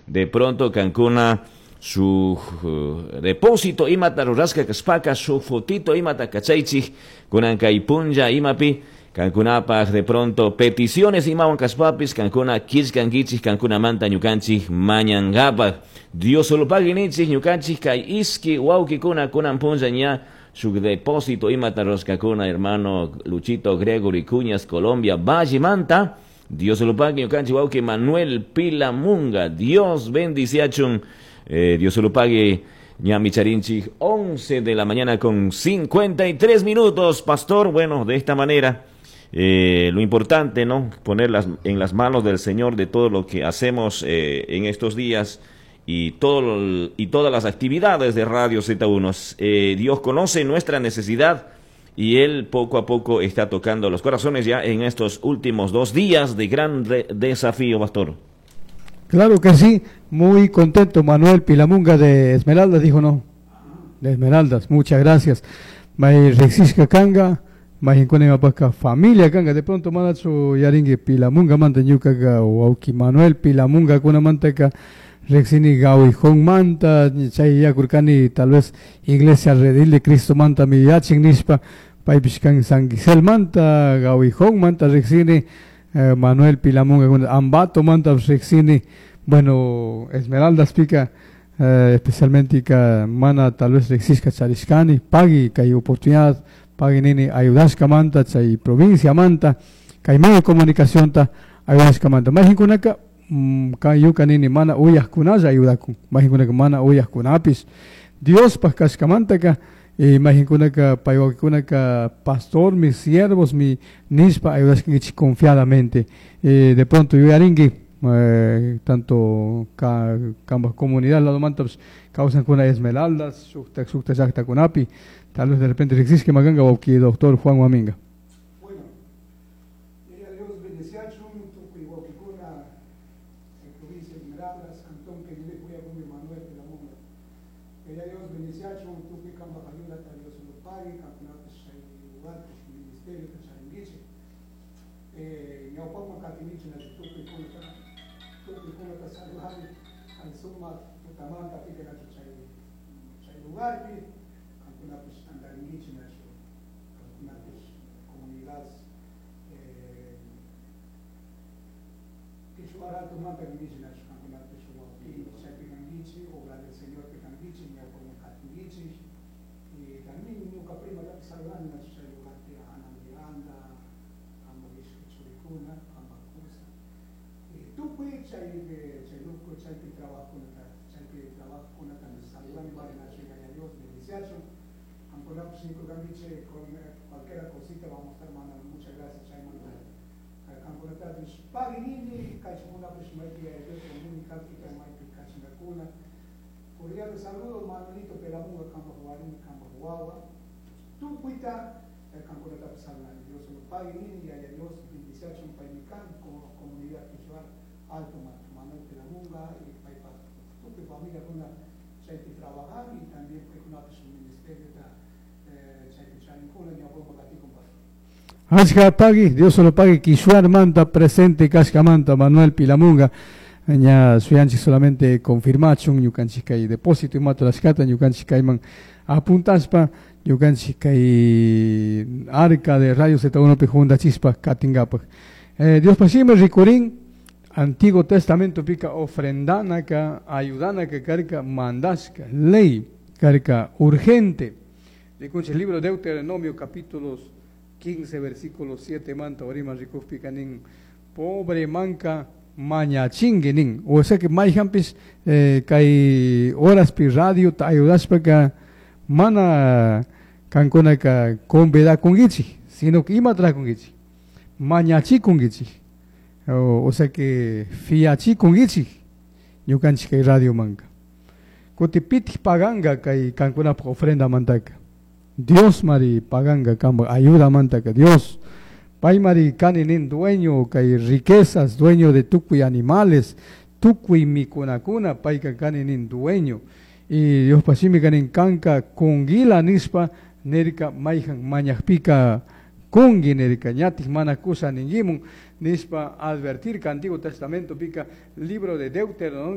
De pronto kankuna shuk depósito imata rurashka kashpaka shuk fotito imata kachaychik kunan kay punlla imapi kankunapaj de pronto peticiones imawan kashpapis kankuna killkankichik kankunamanta ñukanchik mañankapaj. Dios solo pagui nichik ñukanchik kay iski wawkikuna kunan punlla ña shuk depósito imata rurashkakuna hermano Luchito Gregory Cuñas Colombia Vallemanta. Dios lo pague ñukanchik wawki Manuel Pilamunga. Dios bendiciachun. Dios lo pague ñami charinchik 11 de la mañana con 53 minutos, pastor. Bueno, de esta manera, lo importante, ¿no? Ponerlas en las manos del Señor de todo lo que hacemos en estos días y todas las actividades de Radio Z1. Dios conoce nuestra necesidad y Él poco a poco está tocando los corazones ya en estos últimos 2 días de gran desafío, pastor. Claro que sí, muy contento Manuel Pilamunga de Esmeraldas, dijo, no, de Esmeraldas, muchas gracias. May rexisca kanga, may hinkuna familia kanga, de pronto manachu yaringi Pilamunga manta ñukaga wawki Manuel Pilamunga kunamantaka rexini gawijón manta, chay yakurkani tal vez Iglesia Redil de Cristo manta mi yachin nishpa, paypish kan San Gisel manta, gawijón manta rexini, Manuel Pilamunga, Ambato manta rexini, bueno, Esmeraldas pica, especialmente ka mana tal vez rexisca charishkani, pagui kay oportunidad, pagui nini ayudashka manta, chay provincia manta, kay medio de comunicación ta ayudashka manta. Mahinkunaka, kay yuka nini mana uyajkunalla ayudakun, mahinkunaka mana uyajkunapis, Dios kashkamantaka, mahinkunaka paywakikunaka pastor, mis siervos, mi nishpa ayudashkankichik confiadamente. De pronto yuyarinki, tanto kamba comunidad lado manta, pues, kawsankuna Esmeraldas, shukta, shukta llaktakunapi, tal vez de repente riksishka maganga wawki doctor Juan Waminga. Bueno, Dios bendeciachun, tukuy wawkikuna en provincia de Esmeraldas, cantón que vive Cuya Manuel Pilamunga. Quería Dios bendeciachun, tukuy kamba ayuda, Dios lo pague, kankunapis chay lugar, ministerio, charinguiche. Ñawpaqman katinichi nachu tukuy kunata, tukuy kunata saludani, kay sumaq tutamanta pika nachu chay lugarpi, kankunapis tantaringuichi nachu, kankunapis comunidad, Quichua alto manta kanguichi nachu, kankunapis wawki chaypi kanguichi, obra del Señor pi kanguichi, ñawpaqman katinguichi, y también ñuka prima tapi saludani nachu chay lugarpi, Ana Miranda, amba ishki churikuna, amba kusa. Tukuy chay, chay luku, chaypi trabajokunata, chaypi trabajokunata saludani vale nachu, yaya Dios bendiciachun. Kankunapis nikurkanguichi con cualquier cosita vamos a estar mandando muchas gracias chaymanta. Kankunatapis pagui nini, kaychamunapis maypi yaya Dios comunicakpika maypi kachingakuna. Cordial saludo Manuelito Pelamunga kambaj warmi, kambaj wawa. Tukuyta kankunatapis saludani. Dios lo pague nini, yaya Dios bendiciachun paymi kan como comunidad quichua alto Manuel Pelamunga y paypa tukuy familia kuna chaypi trabajan y también paykunapis ministerio ta chaypi charinkuna ñawpaqman katikun pastor. Achka pagui, Dios lo pague, Quishuar manta presente kashkamanta Manuel Pilamunga. Ña suyanchik solamente confirmachun ñukanchik kay depósito imata rashkata ñukanchik kayman apuntaspa ñukanchik kay arca de Radio Z1 pi juntachispa katingapak. Dios pasime rikurin Antiguo Testamento pika ofrendanaka ayudanaka karka mandashka ley karka urgente. Rikunchik libro de Deuteronomio capítulos 15 versículo 7 manta orima rikukpika nin pobre manka mañachingue nin, o sea que mayhanpis, kay horaspi radio ta ayudashpaka mana kankunaka convidakunkichik, sino que ima trakunkichik, mañachikunkichik, o sea que fiachikunkichik ñukanchik kay radio manka. Kuti pitik paganga kay kankunapaj ofrenda mantaka. Dios mari paganga kamba ayuda mantaka Dios. Pay mari kani nin dueño kay riquezas, dueño de tukuy animales, tukuy mikunakuna, payka kani nin dueño. Y Dios pasimi kanin kanka kungila nispa nirka mayhan mañajpika kungi nirka ñatik mana kusa ningimun nispa advertir que Antiguo Testamento pica libro de Deuteronomio.